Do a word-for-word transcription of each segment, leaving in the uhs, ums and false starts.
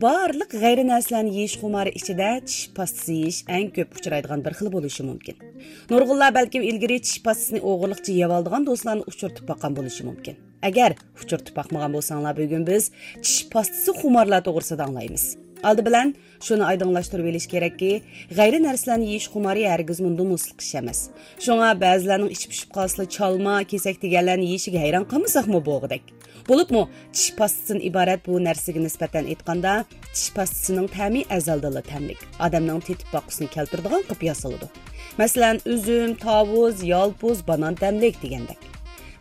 بارلىق غەيرىي نەرسىلەرنى يېيىش خۇمارى ئىچىدە چىش پاستىسى يېيىش ئەڭ كۆپ ئۇچرايدىغان بىر خىل بولۇشى مۇمكىن. نۇرغۇنلار بەلكىم ئىلگىرى چىش پاستىسىنى ئوغرىلىقچە يەۋالىدىغان دوستلارنى ئۇچرىتىپ باققان بولۇشى مۇمكىن. ئەگەر ئۇچرىتىپ باقمىغان بولساڭلار، بۈگۈن بىز چىش پاستىسى خۇمارلار توغرىسىدا ئاڭلايمىز. ئالدى بىلەن شۇنى ئايدىڭلاشتۇرۇۋېلىش كېرەككى، غەيرىي نەرسىلەرنى يېيىش خۇمارى ھەرگىزمۇ نومۇسلۇق ئىش ئەمەس. شۇڭا بەزىلەرنىڭ ئىچى پۇشۇپ قالسىلا چالما، كېسەك دېگەنلەرنى يېيىشىگە ھەيران قالمىساقمۇ بولغۇدەك. بولۇپمۇ چىش پاستىسىدىن ئىبارەت بۇ نەرسىگە نىسبەتەن ئېيتقاندا، چىش پاستىسىنىڭ تەمى ئەزەلدىنلا تەملىك، ئادەمنىڭ تېتىپ باققۇسىنى كەلتۈرىدىغان قىلىپ ياسىلىدۇ. مەسىلەن، ئۈزۈم، تاۋۇز، يالپۇز، بانان تەملىك دېگەندەك.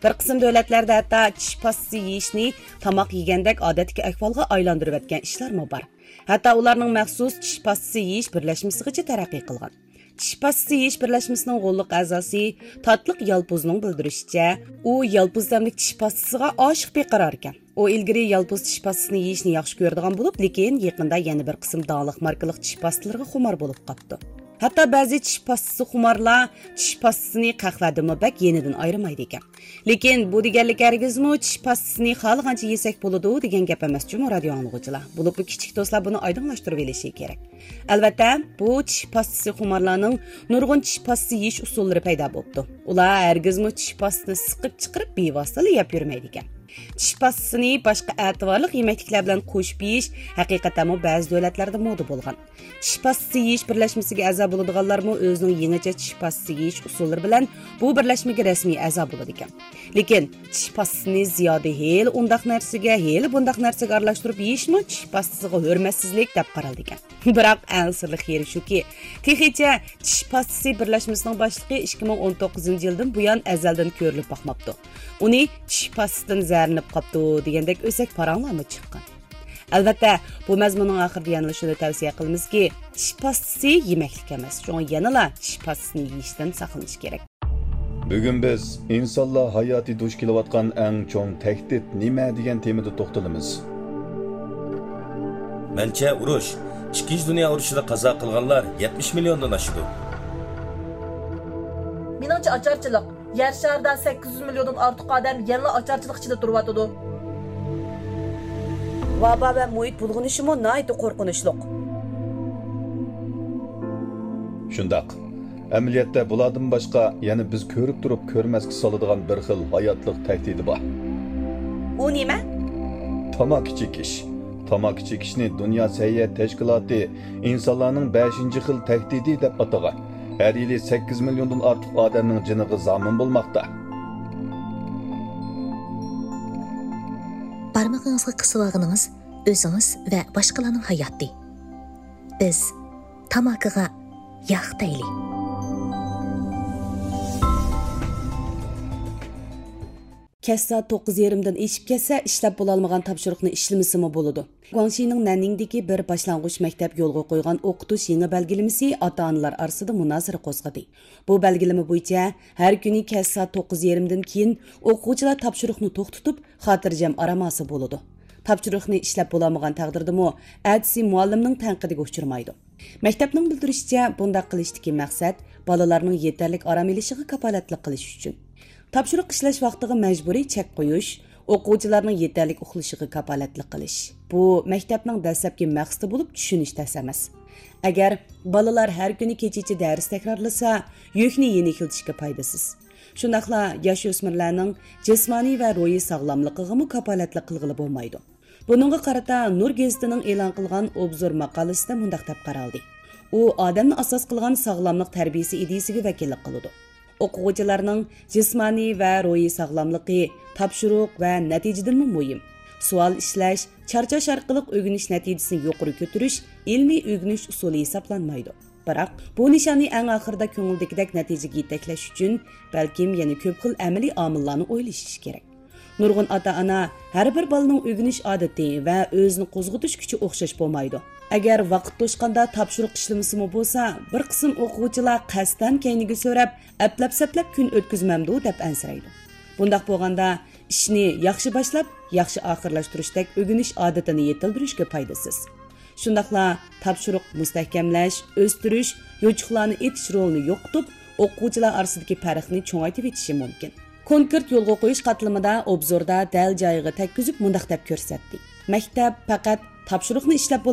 بىر قىسىم دۆلەتلەردە ھەتتا چىش پاستىسى يېيىشنى تاماق يېگەندەك ئادەتتىكى ئەھۋالغا ئايلاندۇرۇۋەتكەن ئىشلارمۇ بار. ھەتتا ئۇلارنىڭ مەخسۇس چىش پاستىسى يېيىش بىرلەشمىسىغىچە تەرەققىي قىلغان. چىش پاستىسى يېيىش بىرلەشمىسىنىڭ غوللۇق ئەزاسى تاتلىق يالپۇزنىڭ بىلدۈرۈشىچە، ئۇ يالپۇز تەملىك چىش پاستىسىغا ئاشىق بىقارار ئىكەن. ئۇ ئىلگىرى يالپۇز چىش پاستىسىنى يېيىشنى ياخشى كۆرىدىغان بولۇپ، لېكىن يېقىندا يەنە بىر قىسىم داڭلىق ماركىلىق چىش پاستىلىرىغا خۇمار بولۇپ قاپتۇ. ھەتتا بەزى چىش پاستىسى خۇمارلار چىش پاستىسىنى قەھۋەدىنمۇ بەك يېنىدىن ئايرىمايدىكەن. لېكىن بۇ دېگەنلىك ھەرگىزمۇ چىش پاستىسىنى خالىغانچە يېسەك بولىدۇ دېگەن گەپ ئەمەس جۇمۇ، رادىيو ئاڭلىغۇچىلار. بولۇپمۇ كىچىك دوستلار بۇنى ئايدىڭلاشتۇرۇۋېلىشى كېرەك. ئەلۋەتتە، بۇ چىش پاستىسى خۇمارلارنىڭ نۇرغۇن چىش پاستىسى يېيىش ئۇسۇللىرى پەيدا بوپتۇ. ئۇلار ھەرگىزمۇ چىش پاستىسىنى سىقىپ چىقىرىپ بىۋاسىتىلا يەپ يۈرمەيدىكەن. چىش پاستىسىنى باشقا ئەتىۋارلىق يېمەكلىكلەر بىلەن قوشۇپ يېيىش ھەقىقەتەنمۇ بەزى دۆلەتلەردە مودا بولغان. چىش پاستىسى يېيىش بىرلەشمىسىگە ئەزا بولىدىغانلارمۇ ئۆزىنىڭ يېڭىچە چىش پاستىسى يېيىش ئۇسۇللىرى بىلەن بۇ بىرلەشمىگە رەسمىي ئەزا بولىدىكەن. لېكىن چىش پاستىسىنى زىيادە ھېلى ئۇنداق نەرسىگە، ھېلى بۇنداق نەرسىگە ئارىلاشتۇرۇپ يېيىشمۇ چىش پاستىسىغا ھۆرمەتسىزلىك دەپ قارالىدىكەن. بىراق ئەڭ سىرلىق يېرى شۇكى، تېخىچە چىش پاستىسى بىرلەشمىسىنىڭ باشلىقى ئىككى مىڭ ئون توققۇزىنچى يىلدىن بۇيان ئەزەلدىن كۆرۈلۈپ باقماپتۇ. ئۇنى چىش پاستىسىدىن زەھەرلىنىپ قاپتۇ دېگەندەك ئۆسەك پاراڭلارمۇ چىققان. ئەلۋەتتە، بۇ مەزمۇننىڭ ئاخىرىدا يەنىلا شۇنى تەۋسىيە قىلىمىزكى، چىش پاستىسى يېمەكلىك ئەمەس، شۇڭا يەنىلا چىش پاستىسىنى يېيىشتىن ساقلىنىش كېرەك. بۈگۈن بىز ئىنسانلار ھاياتى دۇچ كېلىۋاتقان ئەڭ چوڭ تەھدىت نېمە دېگەن تېمىدا توختىلىمىز. مەنچە ئۇرۇش، ئىككىنچى دۇنيا ئۇرۇشىدا قازا قىلغانلار يەتمىش مىليوندىن ئاشىدۇ. مېنىڭچە ئاچارچىلىق. يەر شارىدا سەككىز يۈز مىليوندىن ئارتۇق ئادەم يەنىلا ئاچارچىلىق ئىچىدە تۇرۇۋاتىدۇ. ۋابا ۋە مۇھىت بۇلغىنىشىمۇ ناھايىتى قورقۇنچلۇق. شۇنداق. ئەمەلىيەتتە بۇلاردىن باشقا يەنە بىز كۆرۈپ تۇرۇپ كۆرمەسكە سالىدىغان بىر خىل ھاياتلىق تەھدىتى بار. ئۇ نېمە؟ تاماكا چېكىش. تاماكا چېكىشنى دۇنيا سەھىيە تەشكىلاتى ئىنسانلارنىڭ بەشىنچى خىل تەھدىتى دەپ ئاتىغان. ھەر يىلى سەككىز مىليوندىن ئارتۇق ئادەمنىڭ جېنىغا زامىن بولماقتا. بارمىقىڭىزغا قىسىۋالغىنىڭىز ئۆزىڭىز ۋە باشقىلارنىڭ ھاياتى. بىز تاماكىغا ياق دەيلى. كەچ سائەت توققۇز يېرىمدىن ئېشىپ كەتسە، ئىشلەپ بولالمىغان تاپشۇرۇقنى ئىشلىمىسىمۇ بولىدۇ. گۇاڭشىنىڭ نەننىڭدىكى بىر باشلانغۇچ مەكتەپ يولغا قويغان ئوقۇتۇش يېڭى بەلگىلىمىسى ئاتا-ئانىلار ئارىسىدا مۇنازىرە قوزغىدى. بۇ بەلگىلىمە بويىچە ھەر كۈنى كەچ سائەت توققۇز يېرىمدىن كېيىن ئوقۇغۇچىلار تاپشۇرۇقنى توختىتىپ، خاتىرجەم ئارام ئالسا بولىدۇ. تاپشۇرۇقنى ئىشلەپ بولالمىغان تەقدىردىمۇ، ئەتىسى مۇئەللىمنىڭ تەنقىدىگە ئۇچرىمايدۇ. مەكتەپنىڭ بىلدۈرۈشىچە، بۇنداق قىلىشتىكى مەقسەت بالىلارنىڭ يېتەرلىك ئارام ئېلىشىغا كاپالەتلىك قىلىش ئۈچۈن. تاپشۇرۇق ئىشلەش ۋاقتىغا مەجبۇرىي چەك قويۇش، ئوقۇغۇچىلارنىڭ يېتەرلىك ئۇخلىشىغا كاپالەتلىك قىلىش. بۇ مەكتەپنىڭ دەسلەپكى مەقسىتى بولۇپ چۈشىنىش تەس ئەمەس. ئەگەر بالىلار ھەر كۈنى كېچىچە دەرس تەكرارلىسا، يۈكنى يېنىكلىتىشكە پايدىسىز. شۇنداقلا ياش ئۆسمۈرلەرنىڭ جىسمانىي ۋە روھىي ساغلاملىقىغىمۇ كاپالەتلىك قىلغىلى بولمايدۇ. بۇنىڭغا قارىتا نۇر گېزىتىنىڭ ئېلان قىلغان ئوبزور ماقالىسىدە مۇنداق دەپ قارالدى: ئۇ ئادەمنى ئاساس قىلغان ساغلاملىق تەربىيىسى ئىدىيىسىگە ۋەكىللىك قىلىدۇ. ئوقۇغۇچىلارنىڭ جىسمانىي ۋە روھىي ساغلاملىقى، تاپشۇرۇق ۋە نەتىجىدىنمۇ مۇھىم. سوئال ئىشلەش، چارچاش ئارقىلىق ئۆگىنىش نەتىجىسىنى يۇقىرى كۆتۈرۈش ئىلمىي ئۆگىنىش ئۇسۇلى ھېسابلانمايدۇ. بىراق، بۇ نىشاننى ئەڭ ئاخىرىدا كۆڭۈلدىكىدەك نەتىجىگە يېتەكلەش ئۈچۈن، بەلكىم يەنە كۆپ خىل ئەمەلىي ئامىللارنى ئويلىشىش كېرەك. نۇرغۇن ئاتا-ئانا ھەر بىر بالىنىڭ ئۆگىنىش ئادىتى ۋە ئۆزىنى قوزغىتىش كۈچى ئوخشاش بولمايدۇ. ئەگەر ۋاقىت توشقاندا تاپشۇرۇق ئىشلىمىسىمۇ بولسا، بىر قىسىم ئوقۇغۇچىلار قەستەن كەينىگە سۆرەپ، ئەپلەپ-سەپلەپ كۈن ئۆتكۈزمەمدۇ دەپ ئەنسىرەيدۇ. بۇنداق بولغاندا، ئىشنى ياخشى باشلاپ، ياخشى ئاخىرلاشتۇرۇشتەك ئۆگىنىش ئادىتىنى يېتىلدۈرۈشكە پايدىسىز. شۇنداقلا تاپشۇرۇق مۇستەھكەملەش، ئۆستۈرۈش، يوچۇقلارنى ئېتىش رولىنى يوقىتىپ، ئوقۇغۇچىلار ئارىسىدىكى پەرقنى چوڭايتىۋېتىشى مۇمكىن. كونكرېت يولغا قويۇش قاتلىمىدا ئوبزوردا دەل جايىغا تەگكۈزۈپ مۇنداق دەپ كۆرسەتتى: مەكتەپ پەقەت تاپشۇرۇقنى ئىشلەپ